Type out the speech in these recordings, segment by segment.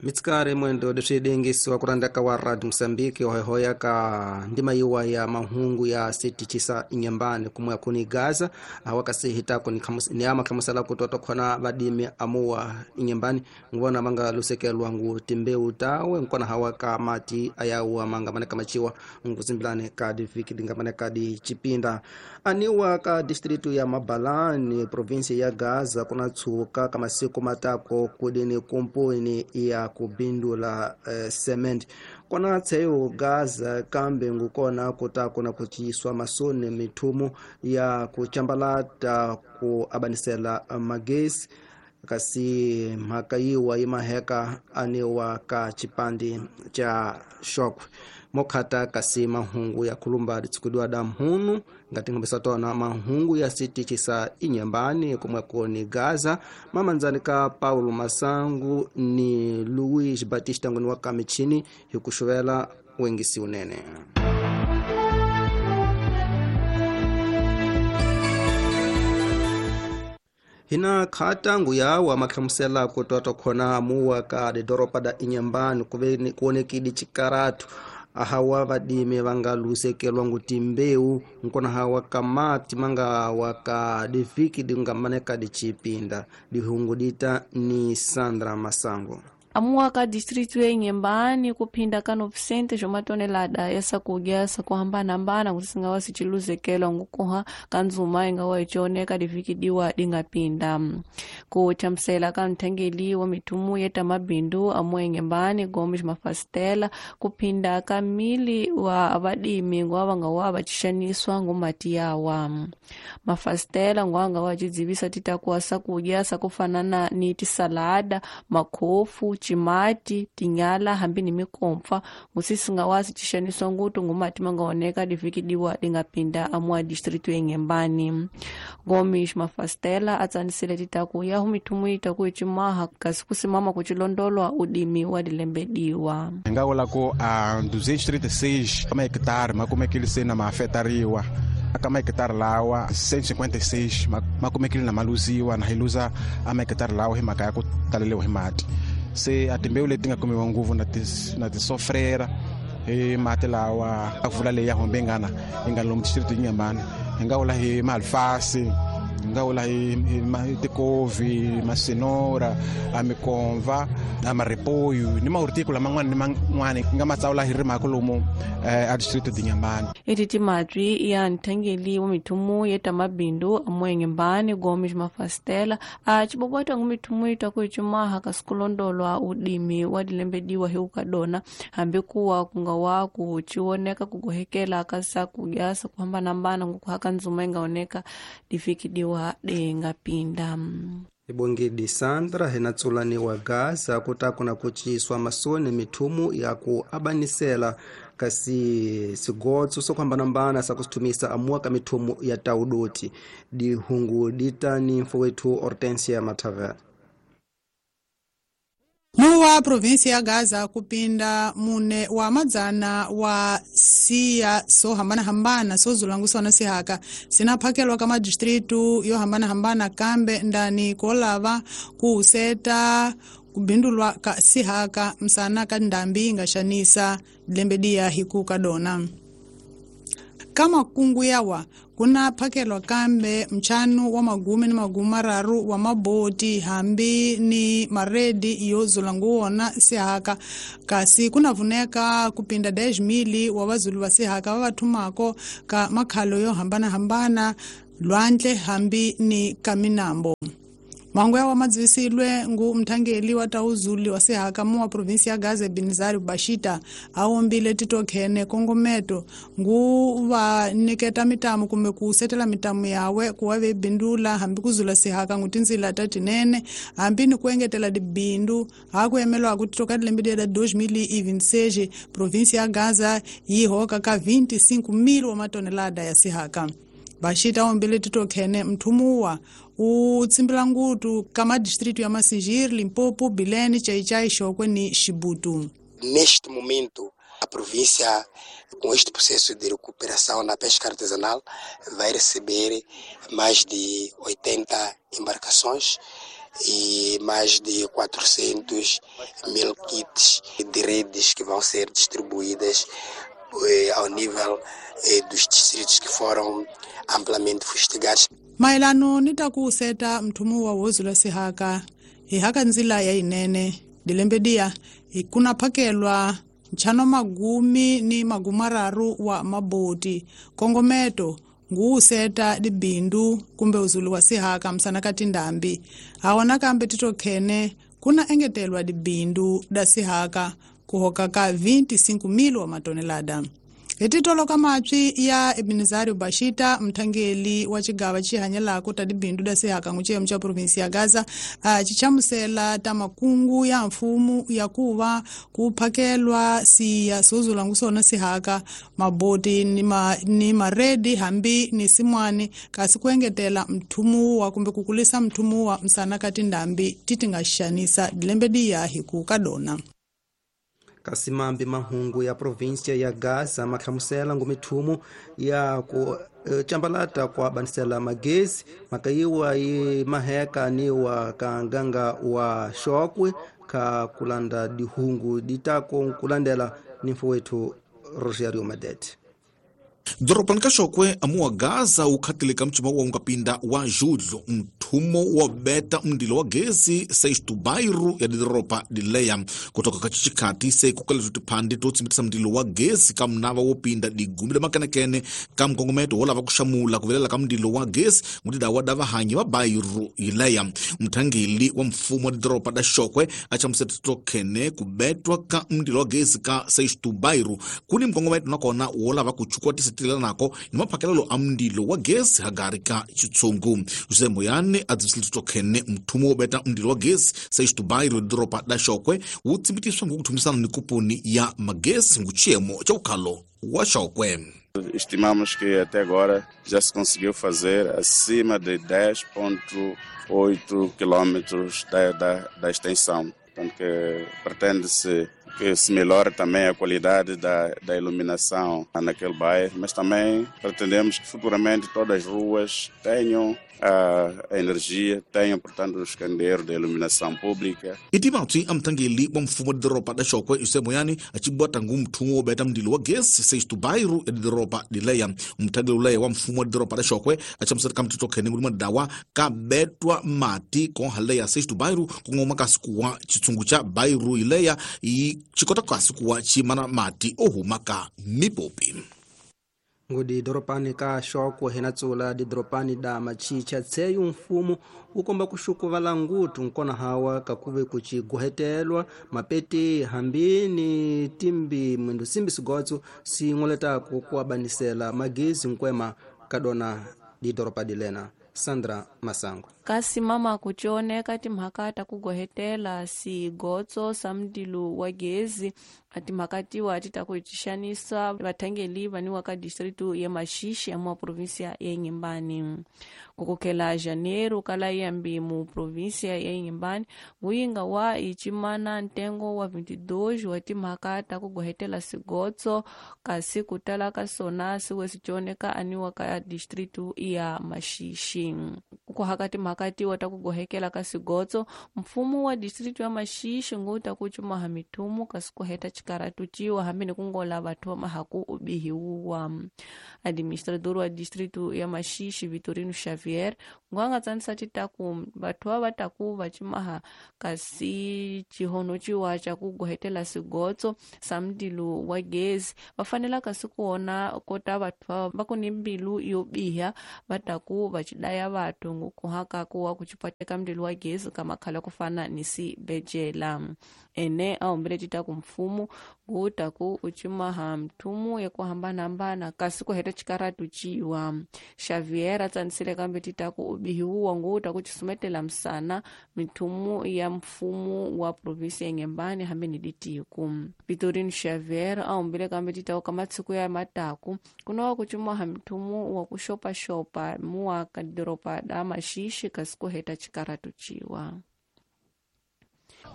Mitsikari mwendo leswi dengisiwa ku randaka wa Radio Mosambiki hoihoya ka ndima yiwa ya mahungu ya sitichisa inyambani kumwe kuni Gaza awakasihitako ni ama khamusela kutoto khona vadimi amuwa inyambani nguvona manga lusekelwa ngu timbeu tawe nkona hawa ka mati ayawa manga maneka machiwa nguzimbilane ka diviki dinga maneka di chipinda aniwa ka distritu ya Mabalani provinsi ya Gaza kuna tsuka kama siku matako kudini kumpuni ya kubindula cement kona tseyo Gaza kambe ngukona kutakona kuchiswa masoni mithumu ya kuchambalata ku abanisela magesi kasi mhaka yiwa yimaheka aniwa ka chipandi cha shokwe mokhata kasi mahungu ya khulumba ditsikudiwa da mhunu ngati ngambisa tona mahungu ya sitichi sa inyambani kumweko ni Gaza mamanzani ka Paulo Masangu ni Luis Batista ngoni wa kamichini hikuxuvela wengisi unene. Hina khatangu yawa makhamusela kutoto khona muwa ka didoropa da inyambani kuve kuonekidi chikaratu ahawa vadimi vanga lusekelwa nguti mbeu nkona hawa kamati manga waka diviki dingamaneka dichipinda dihungu dita ni Sandra Masango. Amuwa ka distritu ya Inhambane kuphinda ka 900 zwa ya sakudya sakuhambanahambana kuti singawa siciluzekelwa ngukuha ka nzuma ingawa icioneka divikidiwa dingapinda kuchamusela ka nthengeli wa mithumu yeta mabindu amuwa Inhambane Gomes Mafastela kuphinda ka mili wa vadimi ngwa vangawa vacixaniswa ngumati yawa Mafastela ngwa angawa acidzivisa titakuwa sakudya sakufanana ni tisalada makhofu chimati tinyala hambi ni mikompfa ngusisi ngawasi cixaniswa ngutu ngumati mangaoneka divikidiwa dingapinda amuwa distritu ya Inhambane. Gomes Mafastela atsanisile titaku yahu mithumu itaku icimaha kasi kusimama kucilondolwa udimi wa dilembediwa hinga ku a 236 mahekitari makumekile se na maafetariwa aka mahekitari lawa 156 makumekile na maluziwa na hi luza a mahekitari lawa hi mhaka ya ku taleliwa hi mati se a timbewu leti nga kumiwa nguvu na tisofrera hi mati lawa a vula leyi ya hombe ngana yi nga lomu district Inhambane hi nga vula hi malfasi hi nga vula hi tikovi masinora a mikomva a maripoyu ni mahortiku laman'wana ni man'wana hi nga matsawula hi rimaka lomu a district Inhambane. Eti timatwi ya nthengeli wa mithumu yeta mabindu amuwa Inhambane Gomes Mafastela a cibobwata ngu mithumu itaku icimaha kasi kulondolwa udimi wa dilembediwa hi ukadona hambi kuwa kungawa kucioneka kugohekela ka sakudya sakuhambanahambana ngukuhaka nzuma ingaoneka divikidiwa dingapinda. Ibongedi Sandra hinatsulaniwa Gaza kutakuna kuciswa masoni mithumu ya ku abanisela kasi sigotso sokuhambanambana sakusithumisa amuwa ka mithumu ya taudoti dihungu ditani mfowethu Hortensia Matavela. Muwa provinsi ya Gaza kupinda mune wa madzana wa siya so hambanahambana sozulangusa sihaka sinaphakelwa ka madistritu yo hambanahambana kambe ndani kolava kuuseta kubindulwa ka sihaka msana ka ndambi ingaxanisa lembedia hiku kadona kama kungu yawa kuna phakelwa kambe mchanu wa magumi ni magumi mararu wa maboti hambi ni maredi yo zula nguwona sihaka kasi kunavuneka kupinda 10,000 wa vazulu va sihaka va vathumako ka makhalo yo hambanahambana lwandle hambi ni kaminambo. Mangu yawa madzivisilwe ngu mthangeli wa tauzuli wa sihaka mu wa provinsi ya Gaza Binizari Bashita awombile titokhene kongometo ngu va niketa mitamu kumbe kusetela mitamu yawe kuwa vebindula hambi kuzula sihaka ngu tindzila ta tinene hambi ni kuengetela dibindu hakuyemelwa ku titoka dilembe da 2026 provinsi ya Gaza yi hoka ka 25,000 wa matonelada ya sihaka. Bashita awombile titokhene mthumuwa utsimbila ngutu ka distrito ya Massingir, Limpopo, Bilene, Chaichai, Chokwe ni Chibuto. Neste momento, a província, com este processo de recuperação na pesca artesanal, vai receber mais de 80 embarcações e mais de 400 mil kits de redes que vão ser distribuídas ao nível dos distritos que foram amplamente fustigados. Mayelano ni ta ku seta mthumu wa wozula sihaka hi haka ndzila ya yinene dilembe diya hi kuna phakelwa ntlhanu magumi ni magumararu wa maboti kongometo nguwuseta dibindu kumbe uzulu wa sihaka msana ka tindhambi hawa kambe titokhene kuna engetelwa dibindu da sihaka kuhoka ka 25,000 wa matonelada. Hi ka mapyi ya Ebenezario Bashita mthangeli wa xigava xihanyelako ta dibindu da sihaka n'wixemu xa provinsi ya Gaza xichamusela ta makungu ya mfumo ya kuva ku phakelwa siya sozula ngusona sihaka maboti ni maredi hambi ni simwani kasi ku engetela mthumuwa kumbe ku kulisa mthumuwa msana ka tindhambi ti ti nga xanisa dilembe diya hi ku ka dona. Kasi mambi mahungu ya província ya Gaza mahlamusela ngumithumu ya ku cambalata kwa banisela magezi makayiwa yi maheka ni wa ka nganga wa Xokwe ka kulanda dihungu ditako kulandela ni mfo wetu Rogério Madete. Doropani ka Xokwe amuwa Gaza ukhatile ka mcima wa ungapinda wa julho mthumo wa beta mndilo wa gezi seistu bairu ya didoropa dileya kutoka ka chichikati seikukaletu tiphandi to tsimitisa mndilo wa gezi ka mnava wo pinda digumi la makenekene ka mkongometo wo lava kuxamula kuvelela ka mndilo wa gezi ngutidawa da vahanyi va bairu yileya. Mthangeli wa mfumo wa didoropa da Xokwe a chamuseta tokhene kubetwa ka mndilo wa gezi ka seistu bairu kuni mkongometo nakona wo lava kuchukua nako ni maphakelelo a mndilo wa gesi hagari ka xitshungu. José Moyane a dzivisile tokhene mthumo wo beta mndilo wa gesi seistu bairu doropa da Xokwe wu tsibitiswa ngokuthumisana ni kuponi ya magesi nguchiyemo xa ukhalo wa Xokwe. Estimamos que até agora já se conseguiu fazer acima de 10,8 quilômetros da extensão. Portanto, que pretende-se que se melhore também a qualidade da iluminação naquele bairro, mas também pretendemos que futuramente todas as ruas tenham a energia, tenham, portanto, os candeeiros de iluminação pública. Itimatsi amthangeli wa mfumo wa doropa da Xokwe José Moyane acibwata ngu mthumo wo beta mndilo wa gesi seistu bairu ya doropa dileya. Mthangeli uleya wa mfumo wa doropa da Xokwe achamusela ka mtito khene nguli madawa ka betwa mati konhaleya seistu bairu kongoma kasi kuwa chitsungu cha bairu ileya i chikota kasi kuwa chimana mati ohuma ka mipopi. Ngudi doropani ka Xokwe hina tsula didoropani da machicha tseyu mfumo ukomba kuxukuvala ngutu nkona hawa kakuve kuchiguhetelwa mapeti hambi ni timbi mwindu simbi sigotso sing'oletako kuabanisela magezi nkwema kadona didoropa dilena. Sandra Masango. Kasi mama kuchioneka timhaka ta kugohetela sigotso sa mdilu wa gezi atimhaka tiwa ati ta kuxanisa vathangeli vaniwa ka distritu ya Maxixe ya mua província ya Inhambane. Kukukhela janeiro kala yambi mu província ya Inhambane nguyinga wa ichimana ntengo wa 22 wa timhaka ta kugohetela sigotso kasi kutala ka sona siwe sichioneka aniwa ka distritu ya Maxixe. Kuhaka timhaka tiwa ta kugohekela ka sigotso mfumo wa distritu ya Maxixe nguta kuchumaha mithumu kasi kuheta chikaratu ciwa hambi ni kungola vathu va mahaku ubihiwa. Administrador wa distritu ya Maxixe Vitorino Xavier ngwanga tsanisa titaku vathu va taku va cimaha kasi chihono ciwa ca kugohetela sigotso sa mdilu wa gezi va fanela kasi kuona kota vathu va ku ni mbilu yo biha va taku va cidaya vathu ngukuhaka kuwa kuchipateka mdilu wa gezi ka makhala kufana ni sibejela. Ene aombele titaku mfumo ngutaku uchimaha mthumu ya kuhambanahambana kasi kuheta chikaratu ciwa. Xavier atsanisile kambe titaku ubihiwa ngutaku chisumetela msana mithumu ya mfumo wa provinsi ya Inhambane hambi ni ditiku. Vitorino Xavier aombele kambe titaku ka matsiku ya mataku kunowa kuchimaha mthumu wa kuxopaxopa muwa ka doropa da Maxixe kasi kuheta chikaratu ciwa.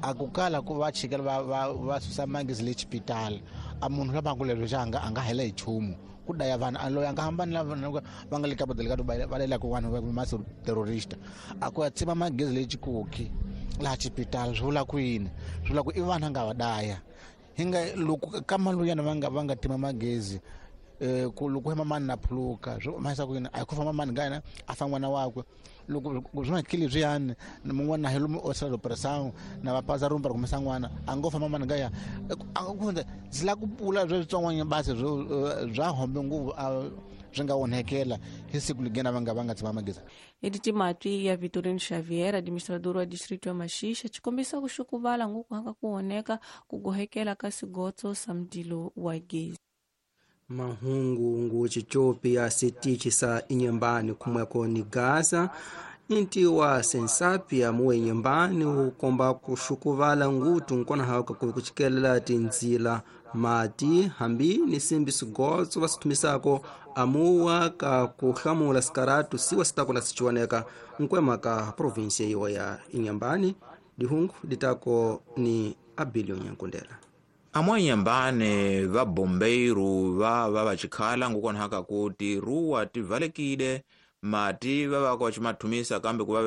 Akukala ku va chikela va susa magezi le xipitala A munhu la bangu lero xanga a nga hela hi nchumu ku daya vanhu a loyi a nga hambani lava va nga le ka badele ka va lela ku vanhu va masi terrorist a ku ya tsima magezi leyi chikoki laha xipitali swi vula ku yini swi vula ku i vanhu a nga va daya hi nga loko ka maluyana va nga tima magezi ku loko hema mani na phuluka swi mahisa ku yini a ku famba mani ngana a fa n'wana wakwe loko swi makili leswiyani mun'wana na hi lomu osela depression na va paza rumba kumesa n'wana a ngo famba mani ngaya a ku ndzi la ku pula switsongwana basi bya hombe ngopfu swi nga onhekela hi siku ligena va nga tsima magezi. Edith Matwi ya Vitorino Xavier, administrador wa distrito ya Maxixa, tshikombisa ku xukuvala ngoku hanga ku oneka ku gohekela ka sigotso sa mdilo wa gezi. Mahungu ngu chichopi ya sitichi sa inyembani kumweko ni Gaza inti wa sensapia muwe inyembani ukomba kuxukuvala ngutu nkona haka kuchikelela tinzila mati hambi ni simbi sigotso vasithumisako amuwa ka kuhlamula sikaratu siwa sitako na sichiwoneka nkwema ka provinsia iwa ya Inhambane dihungu ditako ni Abilio Nyankundela. Amwe Inhambane va bombeiro va va vachikhala ngukonhaka kuti ruwa tivalekile mati va va vachimathumisa kambe ku va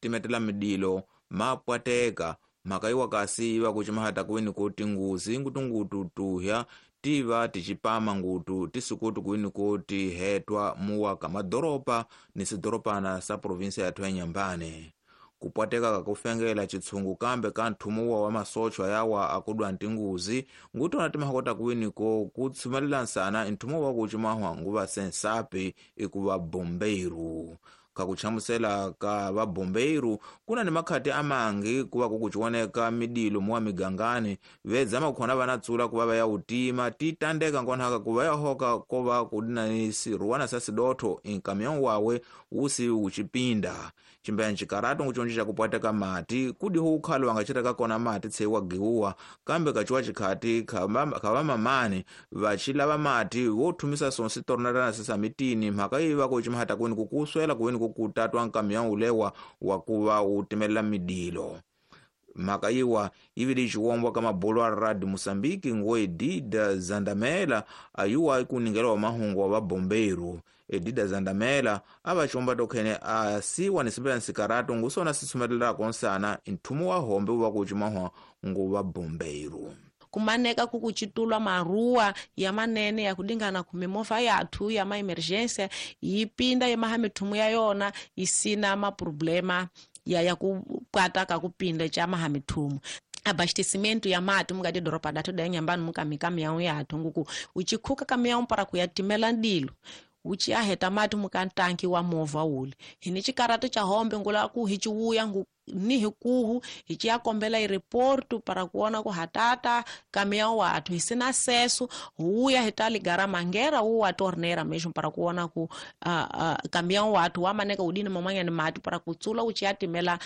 timetela midilo mapwateka mhaka iwa kasi iva kuchimahata kuwini kuti nguzi ngutungutu tuhya tiva tichipama ngutu tisikutu kuwini kuti hetwa muwa ka madoropa ni sidoropana sa provinsia yathu ya Inhambane. Kupwateka kakufengela chitsungu kambe ka nthumuwa wa masochwa yawa akudwa ntinguzi ngutona timahakota kuwiniko kutsumelela nsana nthumuwa wa kuchimahwa nguva sensapi ikuva bombeiru. Kakuchamusela ka vabombeiru kuna ni makhati amangi kuva kukuchioneka midilo muwa migangani vedzama kukhona vanatsula kuva vaya utima titandeka nkonhaka kuva yahoka kova kudina ni siruwana sa sidotho inkamion wawe usi uchipinda chimbeya nchikaratu nguchonji chakupwateka mati kudiho ukhalo wangachiteka kona mati tseiwa giuwa kambe kachiwa chikhati khava mamani vachilava mati wothumisa sonsi tornatana sisamitini mhaka iva kuchimahata kuwini kukuswela kuwini kukutatwa nkamion ulewa wakuva utimelela midilo. Mhaka iwa ivili chiwombwa ka mabolo a radi Moçambique ngo Edida Zandamela ayuwa ikuningela wa mahungu wa vabombeiro. Edida Zandamela ava chiwomba tokhene asiwa nisipela nsikaratu ngusona sisumelela konsana nthumu wa hombe uva kuchimahwa ngo vabombeiro. Kumaneka kukuchitulwa maruwa ya manene ya kudingana kumimova yathu ya ma-emergência yipinda yemaha mithumu ya yona isina maproblema ya kupwata kakupinda cha maha mithumu. Abastecimento ya mati mukati doropa datu da Inhambane mukamikamiyawu yathu nguku uchikhuka kamiyawu para kuyatimela ndilo uchiaheta mati mukantanki wa movha ule hini chikaratu cha hombe ngula ku hichiwuya ngu ni hikuhu hichiyakombela ireportu para kuona ku hatata kamiyawu wathu hisina acesso huya hitaligara mangera uwa torneira mesmo para kuona ku kamiyawu wathu wamaneka udini mamanya ni mati para kutsula uchiyatimela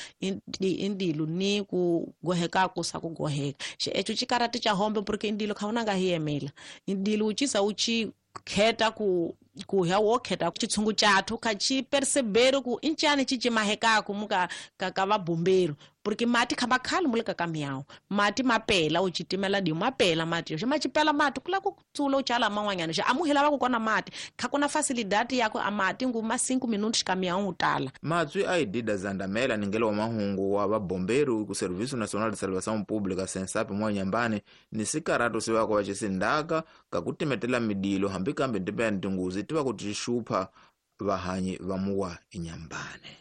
indilu ni kugoheka kusa kugoheka echo chikaratu cha hombe porque indilo khaunanga hiyemela indilo uchisa uchi kheta ku kuya wokheta chitsungu chathu kha percebero ku inchani chichimahekaku muka ka vabombeiro porque mati khamba khali mulika kamiyawu mati mapela uchitimela di mapela mati yo machipela mati kula kutsula uchala man'wanyana xa amuhela va ku kona mati kha kuna facilidade yako amati ngu ma 5 minutos kamiyawu utala. Matswi a Edida Zandamela ningelo wa mahungu wa vabombeiro ku Serviço Nacional de Salvação Pública SENSAP mwa Inhambane ni sikaratu sivako va xisindaka kakutimetela midilo hambi kambe ndipea ntinguzi tiva kuti xupha vahanyi va muwa Inhambane.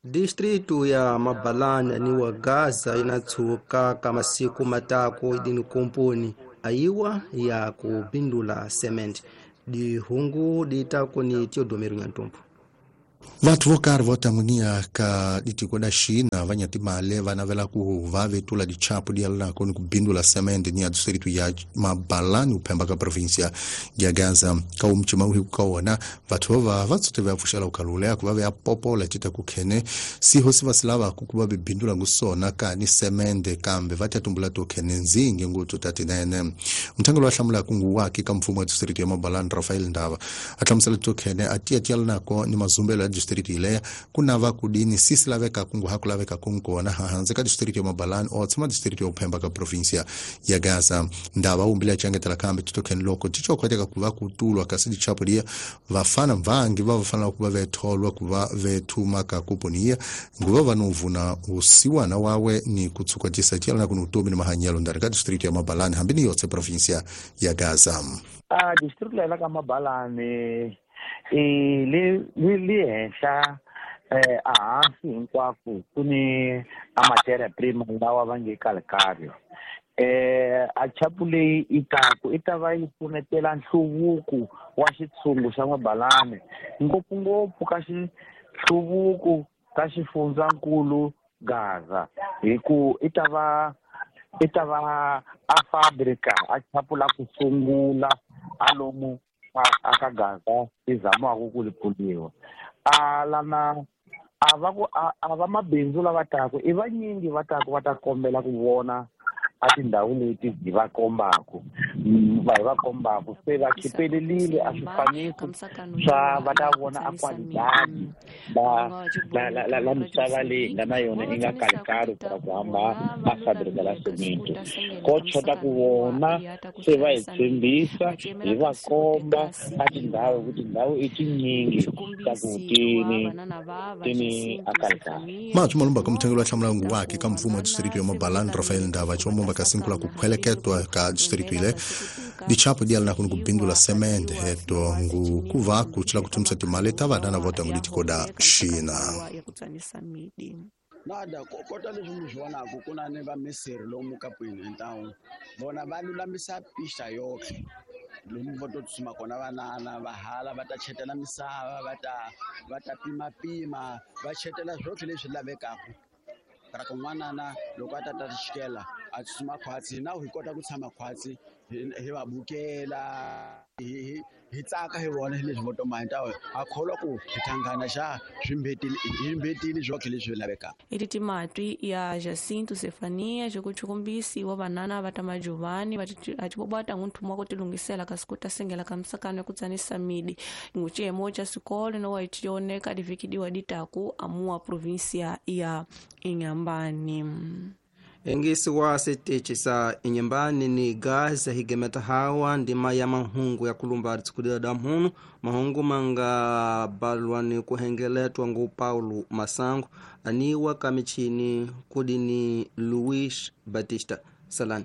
Distritu ya Mabalana ni wa Gaza inatshuka ka masiku matako idini komponi ayiwa ya kubindula cement dihungu ditako ni Teodomiro Nyantumpu. Vathu vo karhi vo tangunia ka ditiko da China va nyatimale va navela ku va vetula dichapu di yalanako ni ku bindula semende ni ya distritu ya Mabalani uphemba ka provinsia ya Gaza ka umchima uhi ka wona vathu va va tsute va pfuxela ukalulea ku va va popola cita ku khene siho si va silava ku va bindula ngusona ka ni semende kambe va tatumbula to khene nzingi nguthu tatinene mthangelo wa hlamula ku nguwaki ka mfumo wa distritu ya Mabalani Rafael Ndava a hlamusela to khene a tiya tiyalanako ni mazumbelo distrito ileya kunava kudini sisi laveka kungu hakulaveka kunkona hanze ka distrito ya Mabalani otshama distrito ya Uphemba ka província ya Gaza. Ndava umbile achangetela kambe titokheni loko tichokhweteka kuva kutulwa kasi dichapo dia vafana mvangi va vafanela kuva vetholwa kuva vethuma ka kuponiya nguva vanovuna usiwana wawe ni kutsukwatisa tialana kuni utomi ni mahanyelo ndari ka distrito ya Mabalani hambi ni yotse província ya Gaza. A distrito la ka Mabalani le henhla ehansi hinkwako ku ni a materia prima lawa va nge calcario. A chapu leyi i taku i ta va yi pfunetela nhluvuko wa xitshungu xa Mabalani ngopfungopfu ka xihluvuko ka xifundzankulu Gaza hi ku i ta va a fabrika a chapu la ku sungula a lomu a ka Gaza i zamaku ku li pfuniwa. A lana a va ku a va mabindzu lava taku i vanyingi va taku va ta kombela ku vona a tindhawu leti hi va kombaku va hi va kombaku se va khipelelile a swifaniso swa va ta vona a qualidade la misava leyi hi nga na yona i nga kalikali para ku hamba a fabrika la cemento ko chota ku vona se va hi tshembisa hi va komba a tindhawu ku tindhawu i tinyingi ta ku tini a kalikali. Machu malumba ka muthengeli wa hlamulangu wake ka mfumo wa distrito ya Mabalani Rafael Ndava chomomba kasinkula kukhweleketwa ka distrito ile dichapo dialana kuni kubindula semende heto ngu kuva kuchila kuthumisa timali ta vanana vota ngu litikoda Xina. Nada kota leswi mi swi vonaku ku na ni va misiri lomu kapwini hi ntawu vona va lulamisa pista yoxe lomu va to tsutsuma kona vanana va hala va ta chetela misava va ta pimapima va chetela swotlhe leswi lavekaku ra ku n'wanana loko a ta ta xikela a tsutsuma khwatsi na hi kota ku tshama khwatsi hi va bukela hi tsaka hi vona hi leswi vo toma hi ntawo a kholwa ku hi thangana xa swi mbetile swotlhe leswi lavekaka. I timatwi ya Jacinto Sefania xikuchukumbisi wa vanana va ta majuvani va tshibobata ngunthuma ku tilungisela kasi ku ta sengela ka misakano ya ku tsanisa midi nguciyemo xa swikolo no wa tioneka divikidiwa ditaku amuwa província ya Inhambane. Engisi wa sitechi sa Inhambane ni Gaza higemeta hawa ndima ya mahungu ya kulumba tsikudila damhunu mahungu manga balwa ni kuhengeletwa ngu Paulo Masango aniwa kamichini kudini Luis Batista Salani.